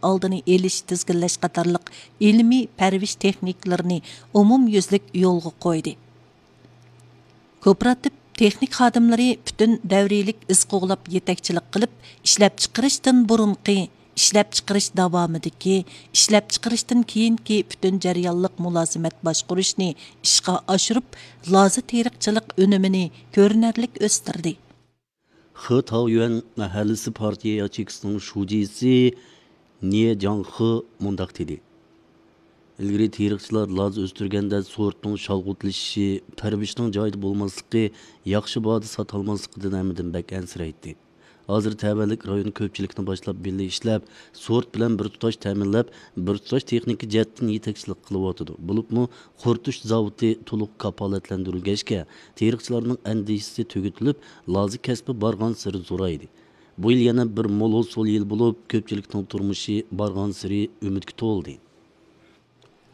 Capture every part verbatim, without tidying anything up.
ئالدىنى ئېلىش، تىزگىنلەش قاتارلىق ئىلمىي پەرۋىش تېخنىكىلىرىنى ئومۇميۈزلۈك يولغا قويدى. كوپىراتىپ تېخنىك خادىملىرى پۈتۈن دەۋرىيلىك ئىز قوغلاپ يېتەكچىلىك قىلىپ، ئىشلەپچىقىرىشتىن بۇرۇنقى، ئىشلەپچىقىرىش داۋامىدىكى، ئىشلەپچىقىرىشتىن كېيىنكى پۈتۈن جەريانلىق مۇلازىمەت باشقۇرۇشنى ئىشقا ئاشۇرۇپ، لازا تېرىقچىلىق ئۈنۈمىنى كۆرۈنەرلىك ئۆستۈردى. خې تاۋيۈەن مەھەللىسى پارتىيە ياچېيكىسىنىڭ شۇجىسى نىيې جاڭخې مۇنداق دېدى: ئىلگىرى تېرىقچىلار لازا ئۆستۈرگەندە سورتنىڭ شالغۇتلىشىشى، پەرۋىشنىڭ جايىدا بولماسلىقى، ياخشى باھادا ساتالماسلىقىدىن ھەممىدىن بەك ئەنسىرەيتتى. ھازىر تەۋەلىك رايون كۆپچىلىكنى باشلاپ بىللە ئىشلەپ، سورت بىلەن بىر تۇتاش تەمىنلەپ، بىر تۇتاش تېخنىكا جەھەتتىن يېتەكچىلىك قىلىۋاتىدۇ. بولۇپمۇ قۇرۇتۇش زاۋۇتى تولۇق كاپالەتلەندۈرۈلگەچكە، تېرىقچىلارنىڭ ئەندىشىسى تۈگىتىلىپ، لازا كەسپى بارغانسېرى زورايدى. بۇ يىل يەنە بىر مول ھوسۇل يىلى بولۇپ، كۆپچىلىكنىڭ تۇرمۇشى بارغانسېرى ئۈمىدكە تولدى.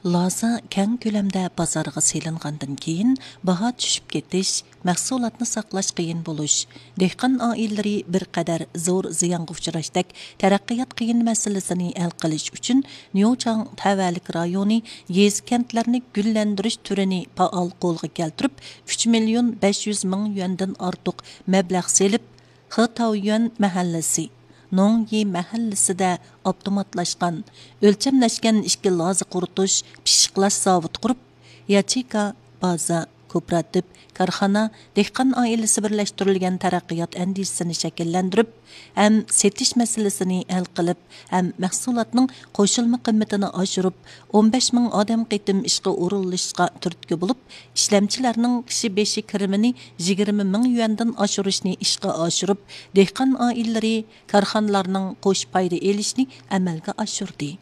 لازا كەڭ كۆلەمدە بازارغا سېلىنغاندىن كېيىن، باھا چۈشۈپ كېتىش، مەھسۇلاتنى ساقلاش قىيىن بولۇش، دېھقان ئائىلىلىرى بىر قەدەر زور زىيانغا ئۇچراشتەك تەرەققىيات قىيىن مەسىلىسىنى ھەل قىلىش ئۈچۈن، نيۇچاڭ تەۋەلىك رايونى يېزا، كەنتلەرنى گۈللەندۈرۈش تۈرىنى پائال قولغا كەلتۈرۈپ، ئۈچ مىليون بەش يۈز مىڭ يۈەندىن ئارتۇق مەبلەغ سېلىپ، خې تاۋيۈەن مەھەللىسى، نوڭيى مەھەللىسىدە ئاپتوماتلاشقان، ئۆلچەملەشكەن ئىككى لازا قۇرۇتۇش، پىششىقلاش زاۋۇتى قۇرۇپ، ياچېيكا، بازا، كوپىراتىپ، كارخانا، دېھقان ئائىلىسى بىرلەشتۈرۈلگەن تەرەققىيات ئەندىزىسىنى شەكىللەندۈرۈپ، ھەم سېتىش مەسىلىسىنى ھەل قىلىپ، ھەم مەھسۇلاتنىڭ قوشۇلما قىممىتىنى ئاشۇرۇپ، ئون بەش مىڭ ئادەم قېتىم ئىشقا ئورۇنلىشىشقا تۈرتكە بولۇپ، ئىشلەمچىلەرنىڭ كىشى بېشى كىرىمىنى يىگىرمە مىڭ يۈەندىن ئاشۇرۇشنى ئىشقا ئاشۇرۇپ، دېھقان ئائىلىلىرى، كارخانىلارنىڭ قوش پايدا ئېلىشىنى ئەمەلگە ئاشۇردى.